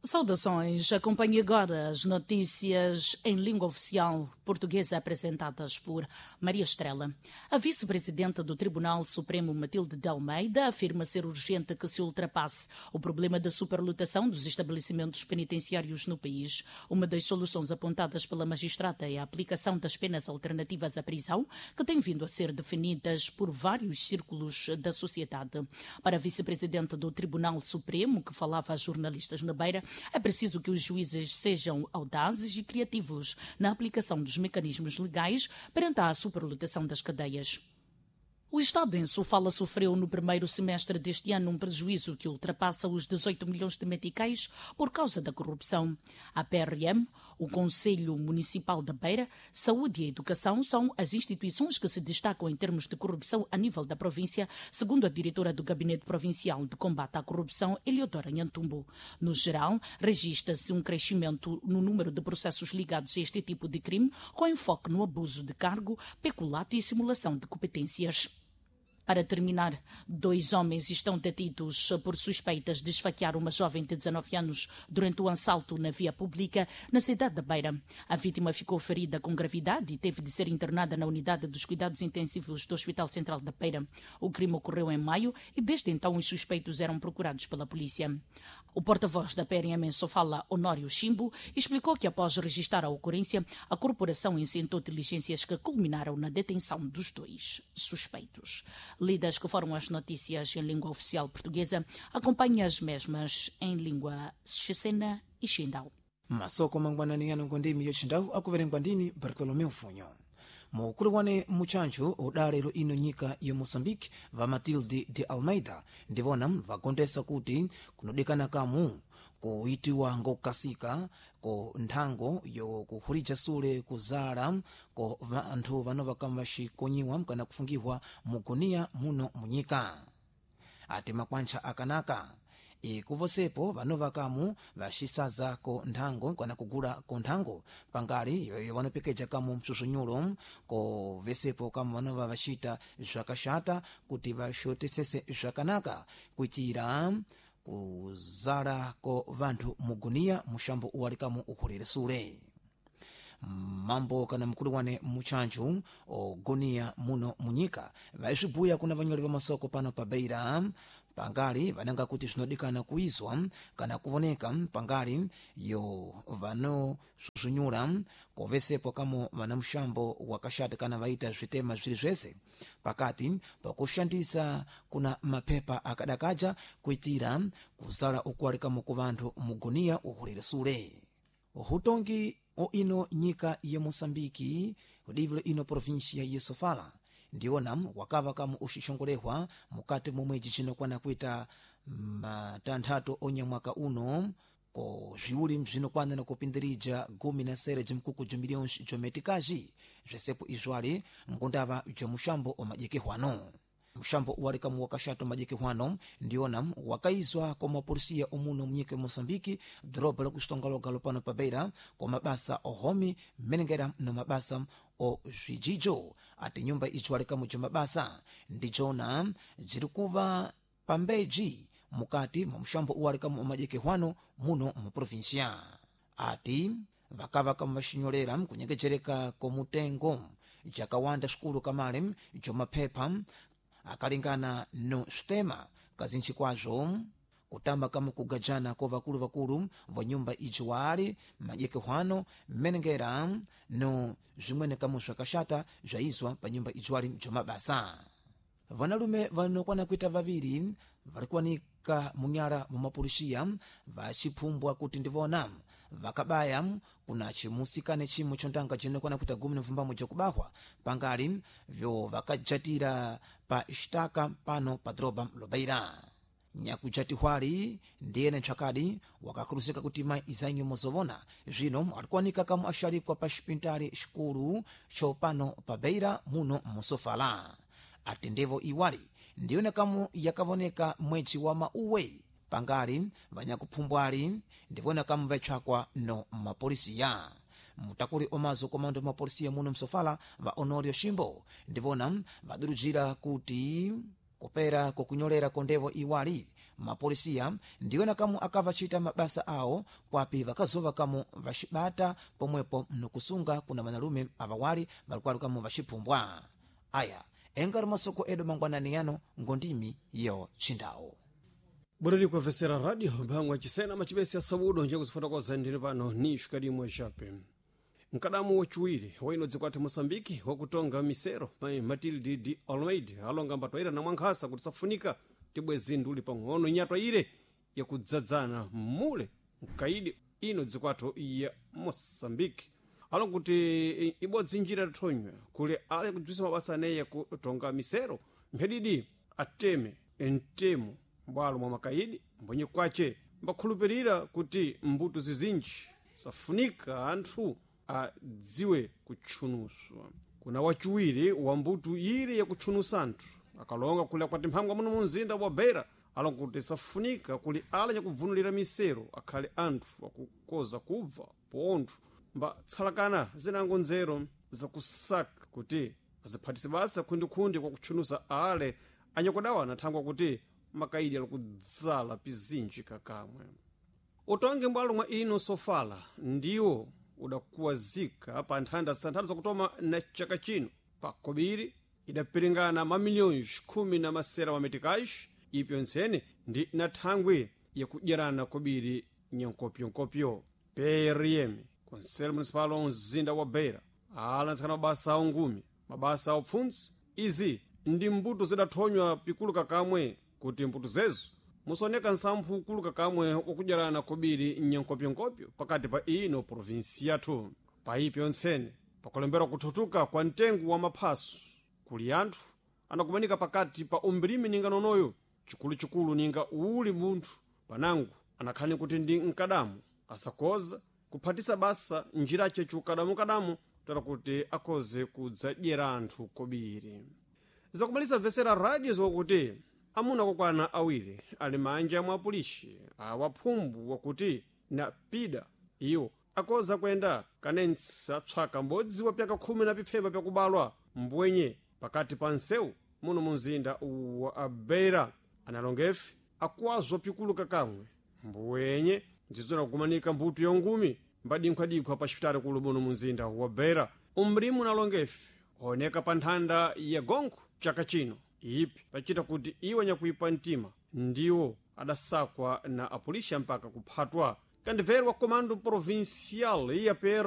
Saudações. Acompanhe agora as notícias em língua oficial portuguesa apresentadas por Maria Estrela. A vice-presidente do Tribunal Supremo, Matilde de Almeida, afirma ser urgente que se ultrapasse o problema da superlotação dos estabelecimentos penitenciários no país. Uma das soluções apontadas pela magistrada é a aplicação das penas alternativas à prisão, que têm vindo a ser definidas por vários círculos da sociedade. Para a vice-presidente do Tribunal Supremo, que falava a jornalistas na Beira, é preciso que os juízes sejam audazes e criativos na aplicação dos mecanismos legais perante a superlotação das cadeias. O Estado em Sofala sofreu no primeiro semestre deste ano um prejuízo que ultrapassa os 18 milhões de meticais por causa da corrupção. A PRM, o Conselho Municipal da Beira, Saúde e Educação são as instituições que se destacam em termos de corrupção a nível da província, segundo a diretora do Gabinete Provincial de Combate à Corrupção, Eliodora Nhantumbo. No geral, registra-se um crescimento no número de processos ligados a este tipo de crime, com enfoque no abuso de cargo, peculato e simulação de competências. Para terminar, dois homens estão detidos por suspeitas de esfaquear uma jovem de 19 anos durante um assalto na via pública na cidade da Beira. A vítima ficou ferida com gravidade e teve de ser internada na unidade dos cuidados intensivos do Hospital Central da Beira. O crime ocorreu em maio e desde então os suspeitos eram procurados pela polícia. O porta-voz da PRM em Sofala, Honório Chimbo, explicou que após registrar a ocorrência, a corporação incentou diligências que culminaram na detenção dos dois suspeitos. Lidas que foram as notícias em língua oficial portuguesa, acompanhe as mesmas em língua chechena e xindau. Masoko mangwanani ngondimi yochindawu akuverengwa ndini Bartolomeu Funyo. Mukulu muchancho udalero ino nyika ya Moçambique va Matilde de Almeida ndivona vakondesa kuti kunodekana kamu kuitiwa ngokukasika ko nthango yokukhulija sule kuzala ko vanthu vano vakamba vaxikonyiwa kana kufungiwa muguniya muno munyika. Ati makwantcha akanaka ikuvosepo vano vakamu vaxisaza ko nthango kana kugula ko nthango pangali yoyo vanopekeja kamu msusunyulo ko vesepo kamu vanova vaxita zvakaxata kuti vaxotesese zvakanaka kuitira kuzala ko vanthu muguniya muxambo uwali kamu ukhulire sule. Mambo kana mkulu wane muchanju ogoniya muno munyika vaisvibuya kuna vanyoli va masoko pano pa Beira pangali vananga kuti zvinodikana kuizwa kana kuvoneka pangali yo vanosusunyula kovesepo kamo vana muxambo wakaxata kana vaita zvitema zviri zvese pakati pakushandisa kuna mapepa akadakaja kuitira kuzala ukuwalikamo ku vanthu muguniya uhulire sule. Hutongi o ino nyika ya Moçambike kudivilo ino província ya Sofala ndiwona wakava kamu uxixongolehwa mukati momwedzi cinokwana kuita matanthatu onyamwaka uno ko zviwuli bzinokwana nakupindirija gumi na sere jimkuku jo milhões jometikaji zvesepo izwali ngundava jomuxambo omadyekerwano. Muxambo uwalikamu wakaxatu madyekerwano ndiwona wakaizwa kwa mapolisiya omuno munyika ya Moçambique doroba lakuxitongaloga pano pa Beira kwa mabasa ohomi mmenengera no mabasa o zvijijo. Ati nyumba ijiwalikamu ja mabasa ndijona jirikuva pambeji mukati mwa muxambo uwalikamu omadyekerwano muno mu província. Ati vakava kamu vaxinyolera kunyengejereka komutengo jakawanda swikulu kamale jomaphepha akalingana no switema kazintchi kwazvo kutamba kamu kugajana ko vakuluvakulu va nyumba ijiwali madyekehwano mmenengera no zvimwene kamu zvakaxata zvaizwa pa nyumba ijiwali jomabasa. Vanalume vanokwana kuita vaviri varikuwanika munyala mwa mapolisiya vaciphumbwa kuti ndivona vakabaya kuna cimusikane chimwe chontanga cinokwana kuita gumi na mvumbamwe jokubahwa pangali vyo vakajatira pa xitaka pano pa doroba lobeira. Nyakujatihwali ndiyene ntsvakadi wakakhuluzika kuti mayi izanyu mozovona zvino alikuwanika kamu axalikwa pa xipintali xikulu xopano pa Beira muno musofala. Ati ndevo iwali ndiyona kamu yakavoneka mwedzi wa mauwe pangali vanyakuphumbwali ndivona kamu vatsvakwa no mapolisiya. Mutakuli omazo komando mapolisiya muno msofala va Honorio Shimbo ndivona vadurujira kuti kupera kokunyolera kondevo iwali. Mapolisiya ndiwena kamwe akavachita mabasa awo kwapi vakazova kamwe vacibata pomwepo mnukusunga kuna vanalume avawali valikwali kamwe vaciphumbwa. Aya engari masoko edu mangwanani yano ngondimi yo chindawu. Bwereri kuamvesera radio mphangwa cisena macipesi ya sabudo nje kuzifotokoza ndine pano ni xukadimwe xape. Mkadamu waciwiri waino dzikwati Moçambike wakutonga misero mai Matilde de Almeida alonga mbatwaira na mwankhasa kuti safunika tibwezi nduli pang'ono inyatwa ire yakudzadzana mule mkaidi ino dzikwatho ya Moçambike. Alonga kuti ibodzi njira yathonywa kuli ale kudzwisa mabasa aneyi yakutonga misero mphedidi ateme mtemo mbwalo mwa makaidi mbwenye kwace mbakhulupirira kuti mbuto zizinji safunika anthu adziwe kutchunuswa. Kuna waciwiri wa mbuto ire yakutchunusa anthu akalonga kuli akwati mphangwa muno mu mzinda wa Beira alonga kuti safunika kuli ala nyakubvunulira misero akhale anthu akukoza kubva pontho mbatsalakana zinango nzero zakusaka kuti aziphatise basa khundikhundi kwa kutchunusa ale anyakudawana thangwa kuti makaidi alikudzala pizinji kakamwe. Utongi mbwalo mwa ino sofala ndiwo udakuwazika pa nthanda zitanthatu zakutoma na chaka chino pa kobiri idapiringana mamiliyoni khumi na masera wa metikaji ipyo ntsene ndi na thangwi yakudyerana kobiri nyankopyonkopyo. PRM Conselho Municipal wa mzinda wa Beira alantsana mabasa a ungumi mabasa a upfundzi. Izi ndi mbuto zidathonywa pikulu kakamwe kuti mbuto zezo musoneka nsamphu ukulu kakamwe wakudyerana kobiri nyankopyonkopyo pakati pa ino provinsi yathu. Paipyo ntsene pakulembera kuthutuka kwa mtengo wa maphaso kuli anthu anakumanika pakati pa umbirimi ninga nonoyo chikuluchikulu ninga uli munthu panangu anakhani kuti ndi mkadamu asakoza kuphatisa basa njirace chiukadamukadamu tera kuti akhoze kudzadyera anthu kobiri. Zakumalisa vesera radio zokuti amuna kokwana awiri ali manja mwa apolisi awaphumbu wakuti na pida iwo akoza kuyenda kanensa tswaka mbodzi wa pyaka khumi na pipfemba pyakubalwa mbwenye pakati pa nsewu muno mu mzinda wa Beira. Analongefe akuwazwa pikulu kakamwe mbwenye ndzidzona kukumanika mbuto yongumi mbadinkhwadikhwa pa xipitali kulu muno mu mzinda wa Beira. Umrimu unalongefe oneka pa nthanda ya gonkho chaka chino ipi pachita kuti iwo nyakuipa mtima ndiwo adasakwa na apolisi mpaka kuphatwa. Kandibverwa komando provincial ya PR